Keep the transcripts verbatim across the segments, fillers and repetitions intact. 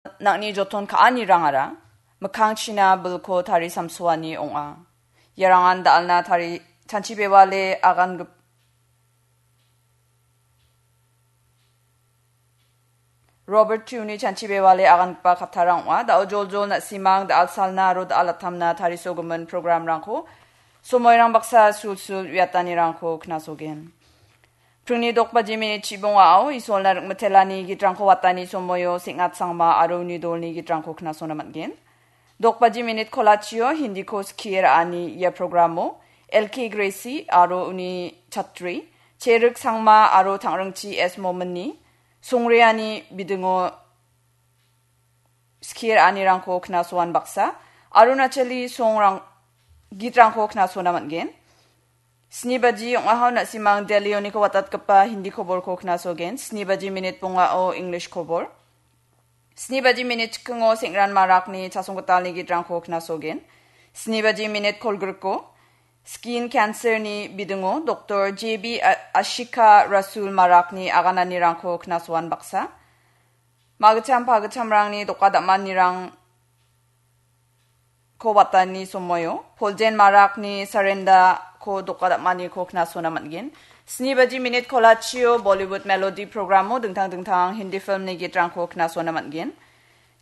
nang·ni joton ka·anirangara mikkangchina bilko tarisamsoani ong·a. Iarangan da·alna tari-, chanchibewale agangip-, Robert Tuni chanchibewale agangipa kattarang ong·a. Da·o joljol na·simang da·al salna aro da·al atamna tarisogimin programrangko somoirang baksa sulsul uiatanirangko knasogen. Pringni dokbaji minit chibongao Isolna ringmitelani gitrangko watani somoio Seng·at Sangma aro uni dolni gitrangko knasona man·gen. Dokbaji minit kolachio Hindiko skie ra·ani ia programo L K Gracie aro uni chatri, Cherik Sangma aro Tangringchi S Mominni songreani bidingo skie ra·anirangko knasoan baksa, Arunachali songrang-, gitrangko knasona man·gen. Sni baji ong·aha na·simang Delhioniko watatgipa Hindi koborko knasogen. Sni baji minit bongao English kobor. Sni baji minit chikingo Seng·ran Marakni chasonggitalni gitrangko knasogen. Sni baji minit kolgriko skin cancer-ni bidingo Doktor J B A-, Ashika Rasul Marakni agananirangko knasoan baksa. Magicham pagichamrangni doka dam·anirang ko watani somoio, Poljen Marakni Sarenda ko doka dam·aniko knasona man·gen. Sni baji minit kolachio Bollywood Melody programo dingtang dingtang Hindi filmni gitrangko knasona man·gen.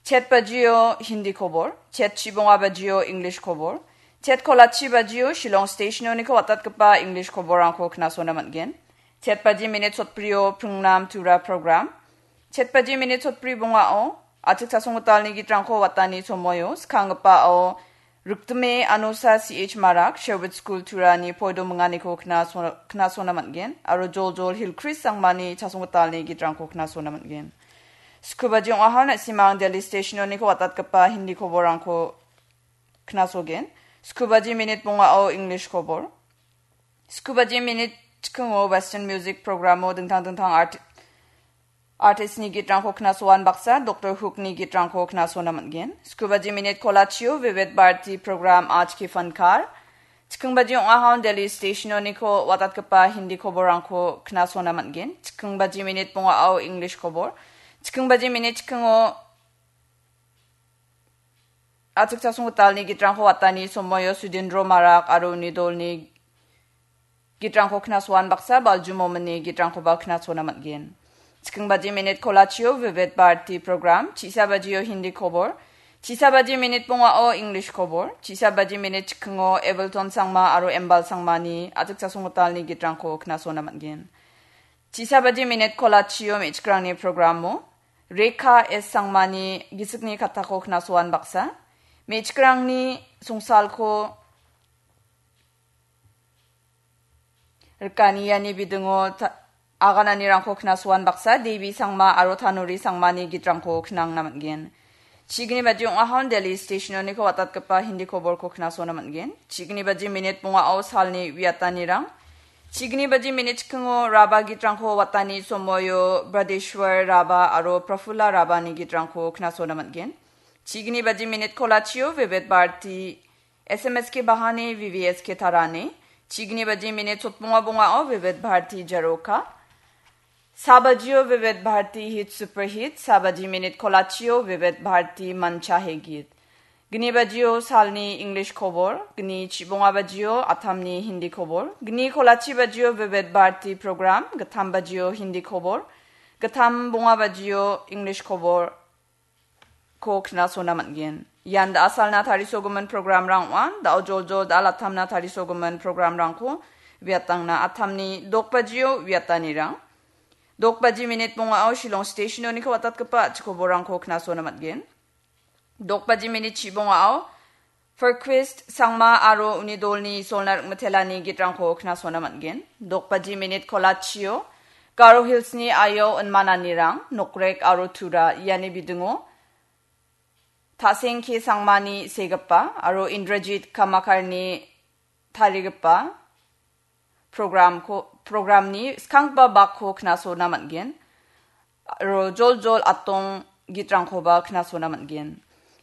Chet bajio Hindi kobor, chet chibonga bajio English kobor, chet kolachi bajio Shillong Stationoniko watatgipa English koborrangko knasona man·gen. Chet baji minit sotbrio Pringnam Tura program, chet baji minit sotbri bongao, achik chasonggitalni gitrangko watani somoio, skanggipao, Riktime Anosa C H Marak, Sherwood School Turani poido minganiko knaso-, knasona man·gen, aro Joljol Hillcrest Sangmani chasonggitalni gitrangko knasona man·gen. Sku baji ong·aha na·simang Delhi Stationoniko watatgipa Hindi koborrangko knasogen. Sku baji minit bongao English kobor. Sku baji minit chikingo Western music programo dingtang dingtang art-, artistni gitrangko knasoan baksa, Doktor Hookni gitrangko knasona man·gen. Sku baji minit kolachio Vivid Bharati program Aaj Ki Fankar. Chiking baji ong·ahon Delhi Stationoniko watatgipa Hindi koborrangko knasona man·gen. Chiking baji minit bongao English kobor. Chiking baji minit chikingo achik chasonggitalni gitrangko watani somoio Sudindro Marak aro uni dolni gitrangko knasoan baksa, Balju Mominni gitrangkoba knasona man·gen. Chiking baji minit kolachio Vivid Bharati program, chisa bajio Hindi kobor, chisa baji minit bongao English kobor, chisa baji minit chikingo Evilton Sangma aro Embal Sangmani achik chasonggitalni gitrangko knasona man·gen. Chisa baji minit kolachio me·chikrangni programo, Rekha S Sangmani gisikni kattako knasoan baksa, me·chikrangni songsalko rikani iani bidingo ta-, agananirangko knasoan baksa, Devi Sangma aro Tanuri Sangmani gitrangko knangna man·gen. Chigni baji ong·ahon Delhi Stationoniko watatgipa Hindi koborko knasona man·gen. Chigni baji minit bongao salni uiatanirang. Chigni baji minit chikingo Raba gitrangko watani somoio Bradeshwar Raba aro Prafula Rabani gitrangko knasona man·gen. Chigni baji minit kolachio Vivid Bharati S M S K Bahani V V S K Tarani. Chigni baji minit sotbonga bongao Vivid Bharati Jaroka. Sabajio Vivid Bharati Hit Super Hit, sabaji minit kolachio Vivid Bharati Mancha He Geet. Gni bajio salni English kobor, gni chibonga bajio atamni Hindi kobor, gni kolachi bajio Vivid Bharati program, gittam bajio Hindi kobor, gittam bonga bajio English kobor, ko knasona man·gen. Ian da·asalna tarisogimin programrang ong·a. Da·o joljol da·alatamna tarisogimin programrangko viatangna atamni dokbajio viatanirang. Dokbaji minit bongao Shillong Stationoniko watatgipa a·chikoborangko knasona man·gen. Dokbaji minit chibongao Ferquist Sangma aro uni dolni Isolna ring·mitelani gitrangko knasona man·gen. Dokbaji minit kolachio Garo Hillsni aio inmananirang, Nokrek aro Tura iani bidingo Ta·seng K Sangmani segipa aro Indrajit Kamakarni tarigipa programko, programni skanggipa bakko knasona man·gen. Aro joljol atong gitrangkoba knasona man·gen.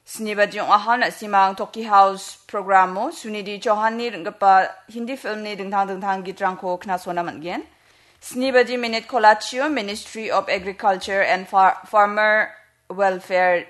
Sni baji ong·aha, na·simang Toki House programo Sunidhi Chauhanni ring·gipa Hindi filmni dingtang dingtang gitrangko knasona man·gen. Sni baji minit kolachio Ministry of Agriculture and Far-, Farmer Welfare